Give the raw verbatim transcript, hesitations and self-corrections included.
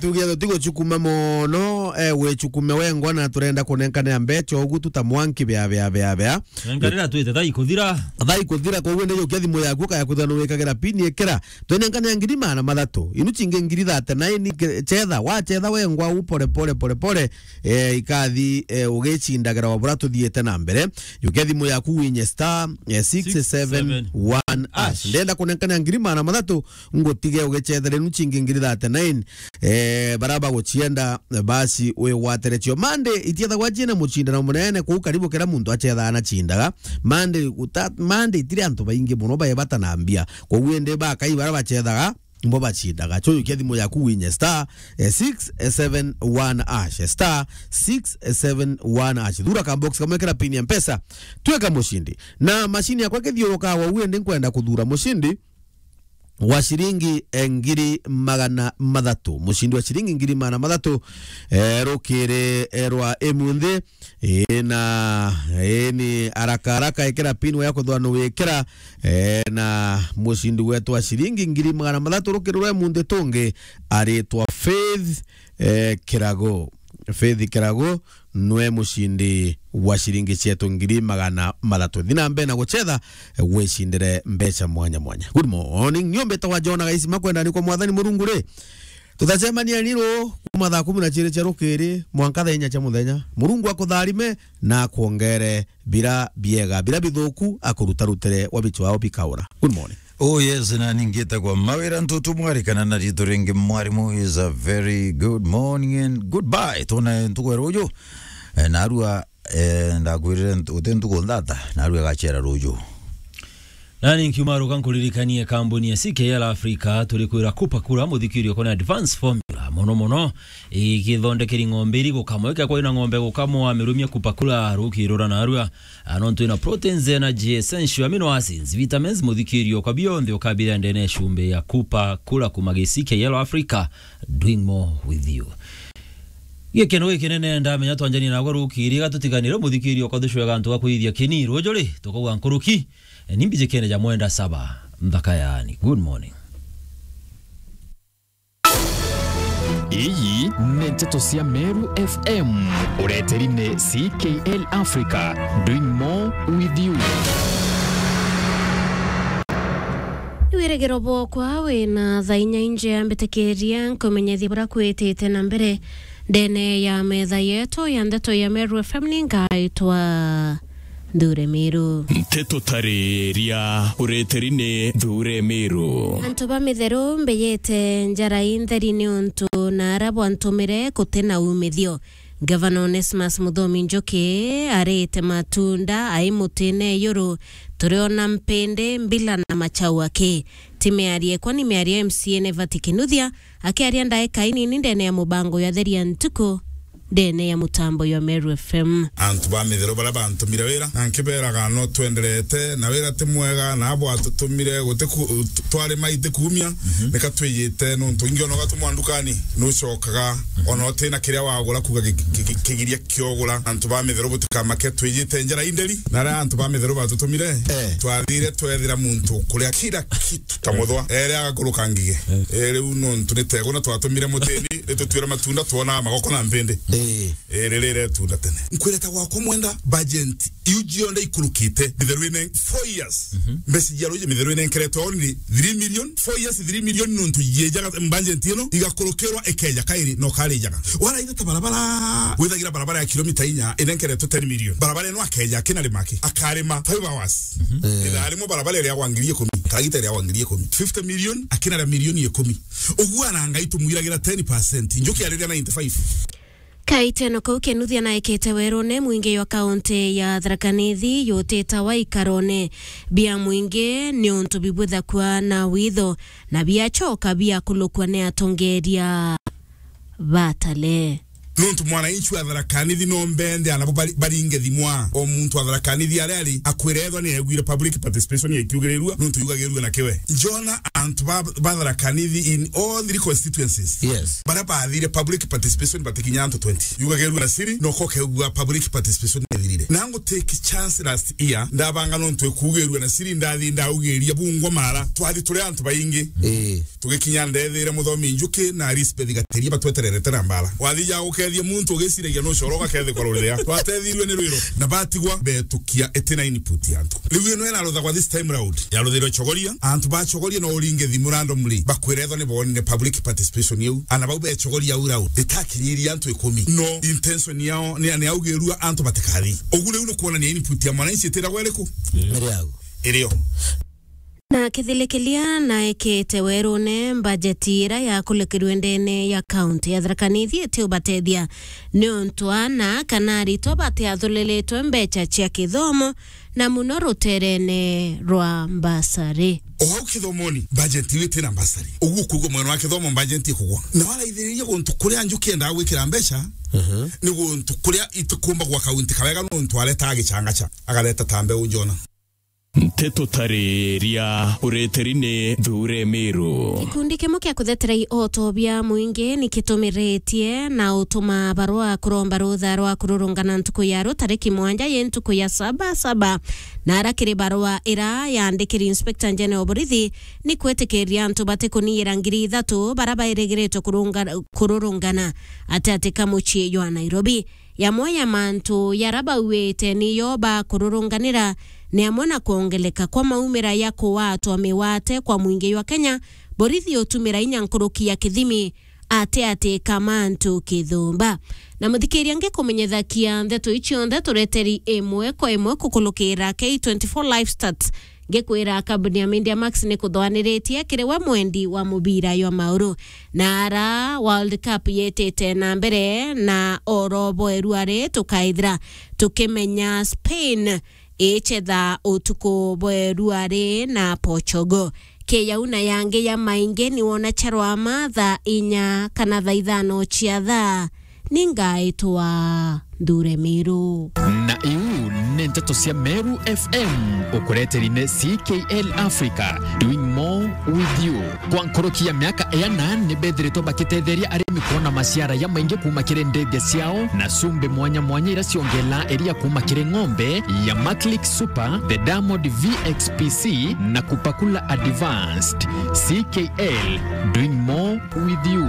Tuge tutigucukuma mono, eh, wicukume wengwa na turenda kunenkanira mbeca ugu tu ta mwanki bea, bea, bea, bea. Nenkanira twite thaa ikuthira. Thaa ikuthira, koguo ndi jukia thimu yaku, ukaya kwithirwa ni wikagira pin, ikira. Twenenkanira ngiri magana mathatu. Inu cingi ngiri thirty-nine, ke-, chetha, wachetha wengwa u pole, pole, pole, pole. Eh, ikathi, eh, ugicindagira o buria tuthiite na mbere. Jukia thimu yaku winye star, eh, six seven one hash. Ndenda kunenkanira ngiri magana mathatu, ngutige ugicethera inu cingi ngiri thirty-nine. Eh, baria bagucienda, basi wigwatire cio. Monday itiethagwa ciina mucindano munene, kuu karibu kira muntu acethaga na cindaga. Monday guta-, Monday itiri antu baingi mono bae bata na mbia. Koguo indi bakai baria bacethaga, mbo bacindaga. Cho jukia thimu yaku winye star, eh, six seven one hash, star six seven one hash. Thura ka box kamwe kira pin ya Mpesa, twika mucindi. Na mashini yakwa ikithiurukaga uu, indi nkwenda kuthura mucindi wa ciringi, eh, ngiri magana mathatu. Mucindi wa ciringi ngiri magana mathatu, eh, rukiri, eh, rwa imunthi. Ii, na, ii, ni haraka haraka ikira pin ya kuthwa nu wikira, eh, na mucindi wetu wa ciringi ngiri magana mathatu rukiri rwa imunthi tungi aritwa Faith, eh, Kirago. Faith Kirago nwe mucindi wa ciringi cietu ngiri magana mathatu. Thi na mbere na gucetha, eh, wicindire mbeca mwanya mwanya. Good morning. Nio mbitagwa Jona Gaisima, kwenda ni kwa Mwathani Murungu ri. Tutacemania ni ru kuma thaa kumi na ciiri cia rukiri mwanka thaa inya cia muthenya. Murungu akutharime na akwongere bira biega, bira bithuku akurutarutire wa bichwao bikaura. Good morning. Oh yes, na ningite kwa mawira ntutu mwari kana na ritu ringi mwarimu is a very good morning and goodbye. Tuna ntuku ya ruju, eh, narua, eh, ndakwirire ntu-, uti ntuku nthata, narua gachera ruju. Nani nkiuma ruka nkuririkanie kambuni ya C K L Africa turi kwira kupa kura muthikirio kona advance formula mono mono igithondekeri ng'ombe iri gukamwa. Ikakwa ina ng'ombe gukamwa, mirumia kupa kura rukirura narua. Ah, nontu ina proteins, energy, essential amino acids, vitamins, muthikirio kwa bionthe ukabira ndene ya cumbi ya kupa kura kuma gi C K L Africa, doing more with you. Gikeno gikinene ndamenya twanjanie nagwe rukiri, gatutiganire muthikirio kwa thucwega antu ga kuithia kini ruju ri, tukauga nkuruki, ni mbijikene ja mwenda saba, nthaka yaani. Good morning. Iyi ni nteto cia Meru F M. Ureteri ni C K L Africa, doing more with you. Ni wirigiro bwokwa wina thaa inya injea mbitikiria nkumenyethia buria kwitite na mbere ndene ya metha yetu ya ndeto ya Meru F M ni ngaitwa Nthure Miru. Nteto tariria ureteri ni Nthure Miru. Antu ba Mitheru mbeyete njara intheri ni untu na ara bwantumire guti na umithio. Gavana Onesmus Muthomi Njuki arite matunda ai mutine yuru, turiona mpindi, mbila na machau aki. Ti miario ekwa, ni miario ya M C A Nevati Kinuthia akiaria ndaika inini ndene ya mubango ya Theria Ntuku ndene ya mutambo ya Meru F M. Antu ba Mitheru baria bantumire wira, na nkiberaga no twenderete na wira ti mwega, na abo atutumire guti ku-, twarima iti kuumia, nika twiyite nuntu ingi ona ugatumwa ndukani, nucokaga ona utina kiria wagura, kuga ki-, ki-, ki-, kigiria kiogura. Antu ba Mitheru butikamake, twiyite njara inderi, na aria antu ba Mitheru batutumire, eh, twathire twethira muntu ukuria kira kitu ta muthwa. Ere agakuruka ngige. Eh, riu nontu ni teguna twatumire mutini, ritutwire matunda, twona magoko na mpindi. Eh. Eh, riri retunda tene. Nkwireta gwakwa mwenda, budget iu cionthe ikurukite, Mitheru ine four years. Mhm. Mbeca cia ruji Mitheru inenkeretwe only three million. Four years, three million nontu yejaga budget ino igakurukirwa ikeja kairi no karijaga. Waraitha ta barabara, withagira barabara ya kilomita inya inenkeretwe ten million. Barabara ino akeja akina rimaki, akarima five hours. Mhm. Eh. Ithaa rimwe barabara iria gwa ngiri ikumi, karagita iria gwa ngiri ikumi. Fifty million, akina ria milioni ikumi. Uguo ana Ngai tumwiragira ten percent. Njuki ariria ninety-five. Kaiteno kau Kinuthia naikite werune mwingi jwa kaunti ya Tharaka Nithi jutitawa ikarone bia mwingi ni untu bibwithakua na witho na biachoka biakulukua ni atongeria batale. Nontu mwananchi wa Tharaka Nithi no mbende anabo bari-, baringe thimwa. O muntu wa Tharaka Nithi aria ari akwira ethwa ni aiguire public participation ikiugirirua, nontu yugagirua na kiwe. Njona antu ba, ba Tharaka Nithi in all three constituencies. Yes. Baria bathire public participation batikinya antu twenty. Yugagirua na siri, no ko keugua public participation ithirire. Na ngo take chance last year, ndabanga nontu ikugirua na siri, ndathi ndaugiria bungwa mara. Twathi turi antu baingi. Eh. Tugikinya ndethire Muthomi Njuki na Elizabeth Gatiria batwetererete na mbara. Wathi ya gukethia muntu ugiciragia nucoro ugakethikwa ruria. Twatethirue ni rwiro na batigwa betukia iti na input ya antu. Riu ino iraruthagwa this time round. Yaruthirwe Chogoria, antu ba Chogoria no uringe thimu randomly bakwira ethwa ni bonire public participation iu. Ana bau be Chogoria au round itakinyirie antu ikumi. No intention yao ni, ni augirua antu batikathi. Ugu riu ni kuonania input ya mwananchi itiragwa iriku? Iri au. Irio. Na kithilikilia naekete werune, mbajeti ira yakulikirwe ndene ya kaunti ya Tharaka Nithi itiubatethia niuntu ana kana aritwa batiathuliritwe mbecha cia kithomo, na muno ruterene rwa mbasari. O hau kithomoni, mbajeti iu itina mbasari. Uguo kuigua mwena wa kithomo mbajeti ikugwa. Na waraithiriria guntu kuria Njuki endaga gwikira mbecha, ni guntu kuria itikumba gwa kaunti kawega nontu aretaga gichangacha, agareta ta mbeu njona. Nteto tariria ureteri ni Thure Miru. Gikundi kimwe kia kutheteria ihoto bia mwingi ni kitumiritie na utuma barua kuromba rutha rwa kururungana ntuku ya ru tariki mwanja yi ntuku ya saba saba, na ara kiri barua ira yandikiri Inspector General borithi ni kwitikiria antu batikuniyira ngiri ithatu bara bairigiritwe kurunga-, kururungana ati ati ka mucii jwa Nairobi. Yamwe ya mantu yara bauite niyo bakururunganira ni amwe na kwongeleka kwa maumira ya kuwatwa miwate kwa mwingi jwa Kenya, borithi utumira inya nkuruki ya kithimi ati ati ka mantu kithumba. Na muthikiria, ngikumenyethakia ndeto ici cionthe tureteri imwe kwa imwe kukulukira K twenty-four Live Stats. Ngikwira, kambuni ya Media Max ni kuthwaniritie kiri we mwendi wa mubira jwa mauru. Na ara World Cup yitite na mbere na oro bweru ari tukaithira tukimenya Spain ichetha utuku bweru ari na Portugal. Kiyau na yangi ya maingi ni wona charwama thaa inya kana thaa ithano cia thaa. Ningaitwa Nthure Miru. Na iu ni nteto cia Meru F M, ukureteri ni C K L Africa, doing more with you. Kwa nkuruki ya miaka iana, ni bethiritwe bakitetheria arimi kwona maciara ya maingi kuuma kiri ndege ciao na cumbi mwanya mwanya iria ciongela iria kuuma kiri ng'ombe ya Maclick Super, the Diamond V X P C na Kupakula Advanced. C K L, doing more with you.